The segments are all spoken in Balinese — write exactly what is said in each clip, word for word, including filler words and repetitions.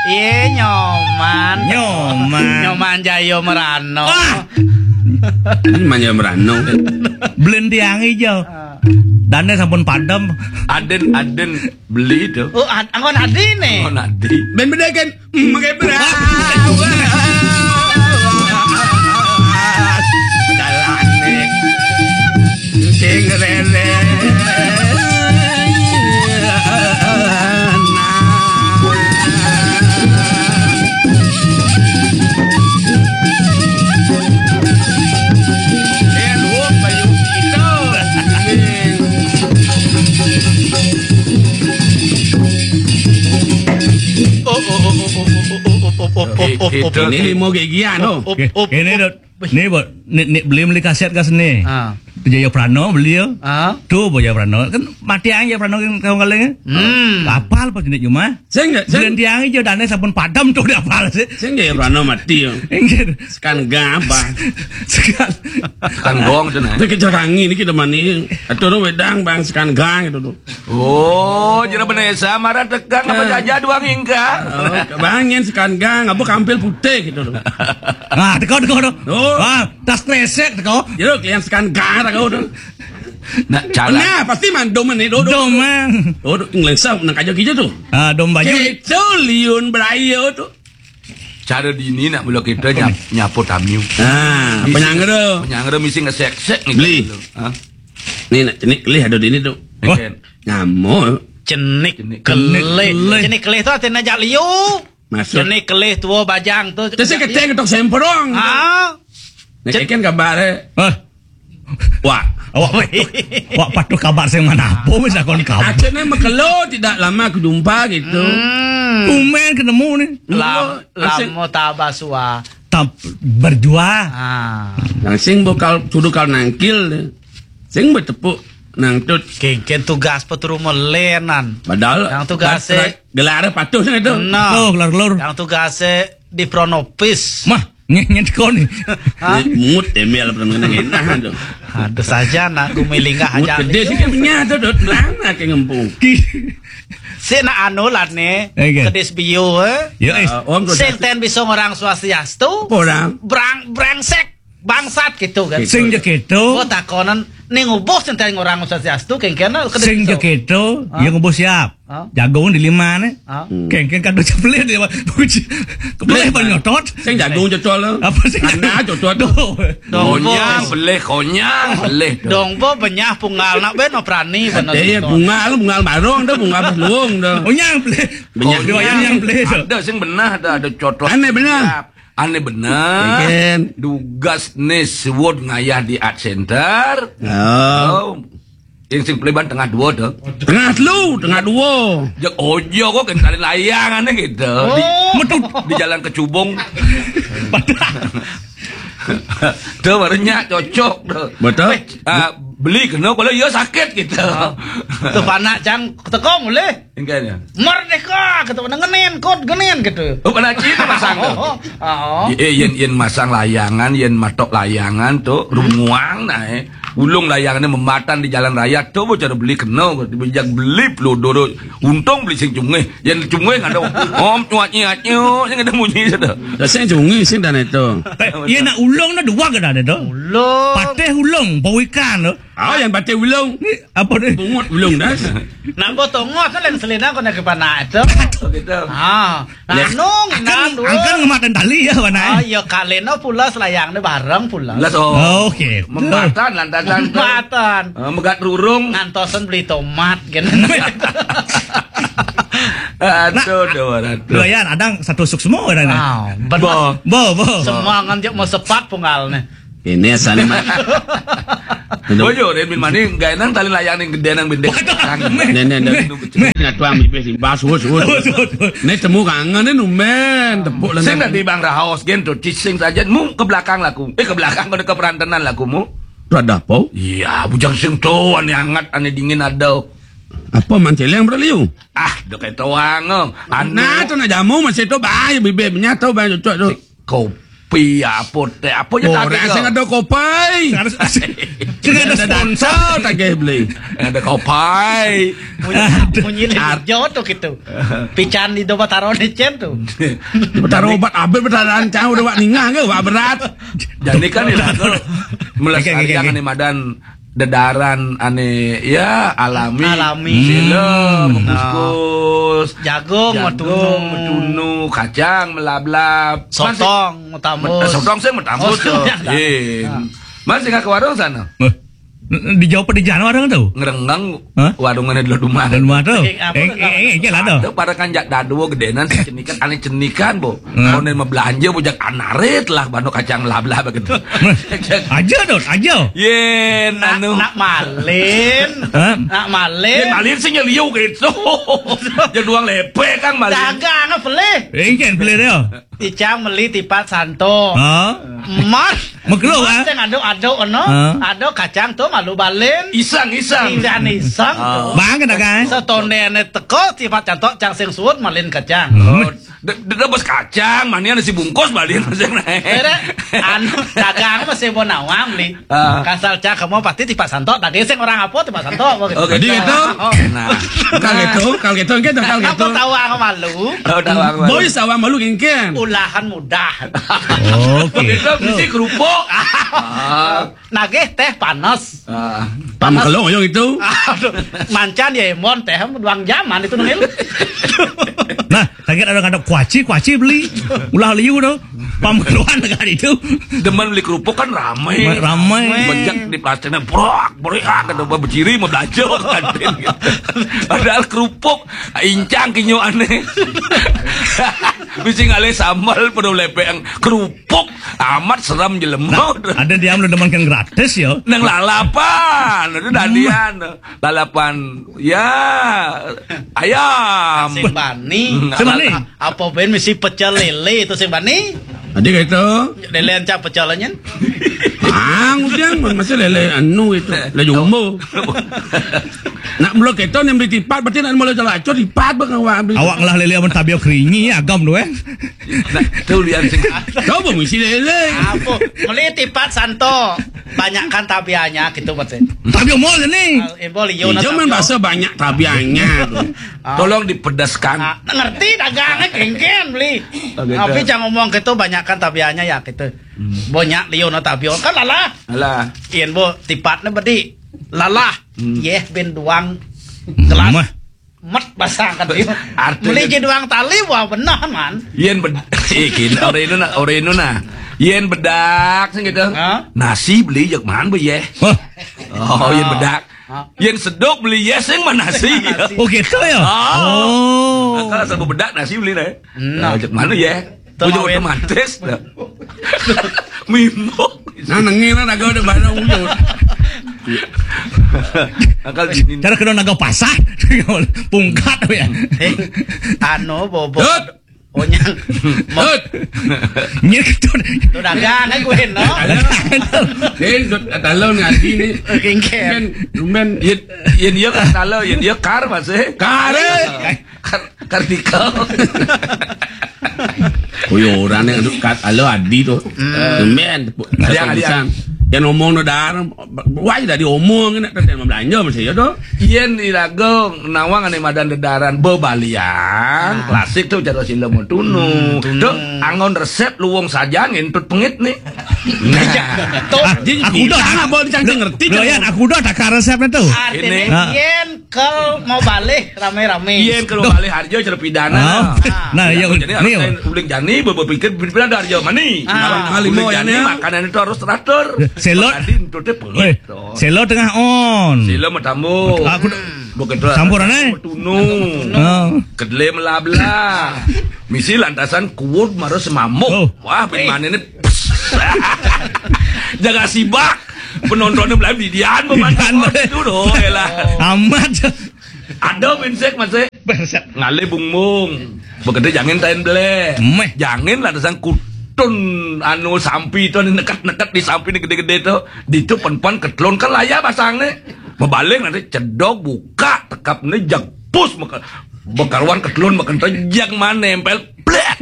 Iya, Nyoman. Nyoman. Nyoman Jaya Merano. Wah. Ini Manja Merano. Belen tiang ijo. Dane sampun padem. Aden, aden beli itu. Oh, ad-, anggon adi nih. Oh, nanti. Ben bedakan. Mengke berapa? Jalane. Sing rene. Ini limo gigian, oh. Ini, Dut. Nih, Bot. Nih, nih, beli, beli kaset kas nih. Ah. Jaya Prano beli ya. Ah. Tuh, Jaya Prano. Kan mati aja Prano kan kau kali. Hmm. Kapal pas di rumah. Sing, sing. Beli tiang ijo dane sampun padem tuh di apal sih. Sing Jaya Prano mati ya. Inggih. Sekan gabah. Sekan. Sekan gong tuh, nah. Kita kejar kangi ini kita mani. Atau wedang bang sekan gang gitu tuh. Oh, jera benesa marah tegang apa jaja doang ingka? Oh, bangin sekan gang, apa kampil putih gitu loh. Nah, teko, teko, teko. Oh. Wah, tas kresek teko. Jero kalian sekan gang teko tuh. Nah, jalan. Nah, pasti mandom nih, do, do. Dom, man. Oh, do, ngelensah nang kaja gitu tuh. Ah, dom baju. Gitu liun berayo tuh. Cara dini nak mula kita nyap-, nyapu tamiu. Ah, penyangga. Penyangga misi ngesek-sek nih. Beli. Hah? Nih nak cenik kelih ada dini tuh. Wah. Nyamuk. Cenik kelih. Cenik kelih. Cenik kelih tuh artinya jak liu. Masuk. Cenik kelih tua bajang tuh. Terus keteng tok semprong. Ah. Nek ikan kabar eh. Hah? Wah. Awak patuh, awak patuh kabar sing mana apa wis takon kabar. Akhirnya mekelo tidak lama aku jumpa gitu. Hmm. Tumen ketemu nih. Lam-, lamo tabasua. Tap berjuang. Ah. Yang sing bokal sudu kal nangkil deh. Sing bertepuk nang tut. Kengken tugas peturu melenan. Padahal yang tugas gelar patuh sing itu. Nah. Oh, gelar-gelar. Yang tugas di Pronopis. Mah, nyen kon. Hah? Mut embel apa namanya enak tuh. Aduh saja nak gumilinga aja. Gede sih punya tuh dot lama kayak ngempung. Si nak anu lah nih, kedis bio eh. Yo, eh. Sing ten bisa orang swastiastu. Orang. Brang, brengsek. Bangsat gitu kan. Sing je gitu. Gua takonan ning ubuh sing ten orang swastiastu kengkena kedis. Sing je gitu, ya ngubuh siap. Jagung di lima nih. Kengken kado cepelih dia. Kepelih apa nyotot? Sing jagung cocol. Apa sih? Anda cocol tuh. Konyang, belih, konyang, belih. Dong bo benyah punggal nak ben prani bener. Eh, punggal, punggal barong dah, punggal luung dah. Konyang belih. Benyah. Konyang belih. Ada sing benah dah, ada cocol. Aneh benah. Aneh bener. Dugas nih suwud ngayah di Art Center. Oh. Yang sing peleban tengah dua tuh. Tengah telu, tengah dua. Jak ojo kok kentalin layangannya gitu. Di, di jalan Kecubung. Tuh barunya cocok tuh. Betul. Ah, beli kena kalau iya sakit gitu. Tuh panak cang tekong boleh. Engkanya. Merdeka gitu, ngenen kot ngenen gitu. Oh, pada cina masang tuh. Oh. Eh, yen, yen masang layangan, yen matok layangan tuh, rumuang nah, eh. Ulung layangannya mematan di jalan raya tuh, bocah beli kena, bijak beli pelodoro. Untung beli sing cungeh, yen cungeh ada. Om cuat nyiat nyuk, sing ada bunyi sudah. Sing cungeh sing dan itu. Iya nak ulung nah dua ke dan itu. Ulung. Pateh ulung, bau ikan tuh. Ah, yang batik ulung. Ni apa ni? Bungut ulung das. Nak gotong ngot lain selina kau nak ke panak tu. Oh, gitu. Ah, nanung inan dua. Angkan ngematan tali ya mana? Oh, iya kaleno pula selayang ni bareng pula. Las oh. Oke. Mematan lantasan tu. Mematan. Ah, megat rurung. Ngantosan beli tomat kan. Aduh, dua ratus. Doyan, adang satu suksma kan. Ah, bo, bo, bo. Semua ngan jek mau sepat punggal ni. Ini asalnya mah. Bojo, Rin bin Mani, gak enang tali layang ning gede nang bendek. Nen nen nen. Ngatuang bibir sing bas wus wus. Nih temu kangen nih numen tepuk lengan. Sing tadi Bang Rahaos gen tuh cicing saja mu ke belakang laku. Eh ke belakang ke perantenan laku mu. Tuh ada apa? Iya, bujang sing tuh ane hangat ane dingin ada. Apa manceleng berliu? Ah, dok itu wangong. Anu. Nah, tuh nak jamu masih tuh bae bibir menyatu bae cocok tuh. Kau Kopi apa teh? Apa je tak ada? Sing ada kopi. Sing ada sponsor tak boleh. Ada kopi. Munyi, munyi jodoh gitu. Pican di doba taruh di cen tuh. Taruh obat abis bertahan cau udah wak ningah ke wak berat. Jadi kan ya melestarikan madan dedaran ane ya alami. Alami. Sila, hmm, bungkus, jagung, jagung, metunu, kacang, melablab, sotong, metambus. Sotong sih metambus tuh. Iya. Mas singgah ke warung sana. Dijawab di jalan warung tuh. Ngerenggang. Hah? Warung mana dulu rumah. Dulu rumah tuh. Eh, eh, eh, eh, lah tuh. Ada pada kan jak dadu gedenan cenikan ane cenikan bo. Konen mau belanja bujak anarit lah bano kacang melablab gitu. Aja dong, aja. Yen nak, anu nak malin. Hah? Nak malin. Yen malin sih nyeliu gitu. Jadi duang lepe kan malin. Dagang apa beli? Engken beli dia. Icang meli tipat santo. Hah? Mas. Mekelo, mas ah. Yang aduk-aduk no. Hah? Aduk kacang tuh malu balin. Iseng, iseng. Iseng, iseng tuh. Bang kena kan? Setonde ne teko tipat santo cang sing suut malin kacang. Hmm. Dek bos kacang, mani ada si bungkus balik masih naik. Anu dagang masih mau nawang beli. Ah. Kasal cak kamu pasti tipak santok, tadi sing orang apa tipak santok apa gitu. Oke. Jadi gitu. Nah. Kalau gitu, kalau gitu, gitu, kalau gitu. Apa tahu ang malu? Oh, tahu ang malu. Boy sawang malu gengken. Ulahan mudah. Oke. Itu mesti kerupuk. Ah. Nagih teh panas. Ah. Panas. Kalau yang itu. Aduh, mancan ya emon teh duang jaman itu nengil. Nah, kaget ada kata kuaci, kuaci beli. Ulah liu tu. Pambeluan negara itu. Demen beli kerupuk kan ramai. Ramai. Bejak di plastiknya brak, brak, kata bejiri mau belanja kantin. Padahal kerupuk incang kinyo aneh. Bisi ngalih sambal penuh lepeng kerupuk amat seram jelema. Nah, ada dia lu demen kan gratis ya. Nang lalapan, itu dadian. Lalapan ya ayam. Sing bani. Hmm, sing bani. Apa ben mesti pecel lele itu sing bani? Tadi kayak itu. Lele ancak pecel nyen. Bang, udah masih lele anu itu. Lele jumbo. Nak mula kita yang beli tipat berarti nak mula jalan acur tipat bang awak beli. Awak ngelah lele amun tabia keringi agam tu eh. Nah, tu lian sing. Coba mesti lele. Apa? Meli tipat santo. Banyakkan tabianya gitu berarti. Tabia mall ni. Ibu liu. Jangan bahasa banyak tabianya. Tolong dipedaskan. Ah, ngerti dagangnya kengken beli. Oh, gitu. Tapi jangan ngomong gitu banyakkan tabianya ya gitu. Hmm. Banyak liu no tabio kan lalah. Alah. Yen bo tipatnya bedi lalah. Hmm. Yeh ben duang gelas. Mah. Met basah kan dia. Artinya beli je duang tali wah benar man. Yen bed ikin ore itu nah, ore itu nah. Yen bedak sing gitu. Hah? Nasi beli jak man be yeh. Hah? Oh, yen bedak. Hah? Yen sedok beli yeh sing mana nasi? Oh gitu ya. Oh. Kalau sebut bedak nasi beli nah. Nah. Cek mana ya? Ujung otomatis dah. Mimbo. Nah, nengi nah naga udah barang ujung. Akal gini. Cara kena naga pasar. Pungkat ya. Eh, anu bobo. Onyang. Hut. Nyir ketut. Tu dagang kan gue no. Eh, talon ngaji ni. Kengker. Rumben. Yen yen dia kan talon, yen dia kar masih. Kar. Kar Kartika. Kuyo orang ni kat alo adi tu. Men, yang ngomong no dar, wah dah diomong nak tadi belanja masih ya tu. Yen di lagu nawang ane madan dedaran bebalian klasik tu cara sila mau tunu. Tu angon resep luwung saja ngentut pengit ni. Nah. Aku dah tak boleh cang ngerti. Aku dah tak resep tu. Artinya yen Kel mau balih rame-rame. Yen kel mau balih harjo cara pidana. Nah, ya jadi ni uling jani berpikir pidana harjo mani. Kalau mau jani makanan itu harus teratur. Selot. Tadi itu teh pelit. Selot tengah on. Sila mau tamu. Aku bukan tu. Sampurane. Tunu. Kedele melabla. Misi lantasan kuwut marus mamuk. Wah, bin mana ni? Jaga sibak. Penontonnya belum didian, didian itu doh, elah. Amat. Ada pinsek masih. Ngalih bungbung. Bekerja jangan tain beleh. Meh. Jangan lah dasang kutun anu sampi itu ni neket-neket di sampi ni gede-gede tu. Di tu perempuan ketelun kan laya basang ni. Mebalik nanti cedok buka tekap ni jagpus bekaruan ketelun makan tu jag mana nempel blet.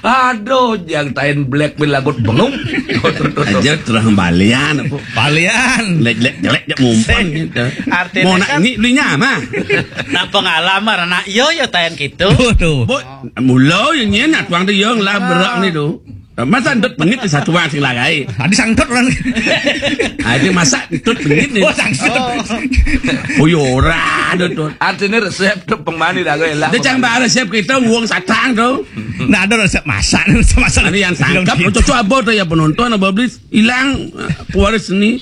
Aduh, yang tain black pil lagut bengong. Aja terang balian apa? Balian. Lek lek jelek jak ngumpan gitu. Artinya Mau nak kan- ini belinya mah. Nah, pengalaman anak yo yo tayan gitu. Tuh, tuh. Bo, mula yang nyen nak tuang tu yang lah berak ni tu. Masa dot pengit di satu orang sing lagai. Tadi sangkut orang. Ada masak dot pengit ni. Oh, sangkut. Oh yo ora ada tu. Artinya resep tu pemani dah gue lah. Dia cang bara siap kita uang satang tu. Nah, ada resep masak, resep masak. Ada yang sangkap, cocok apa tu ya penonton apa beli hilang eh, pewaris ni.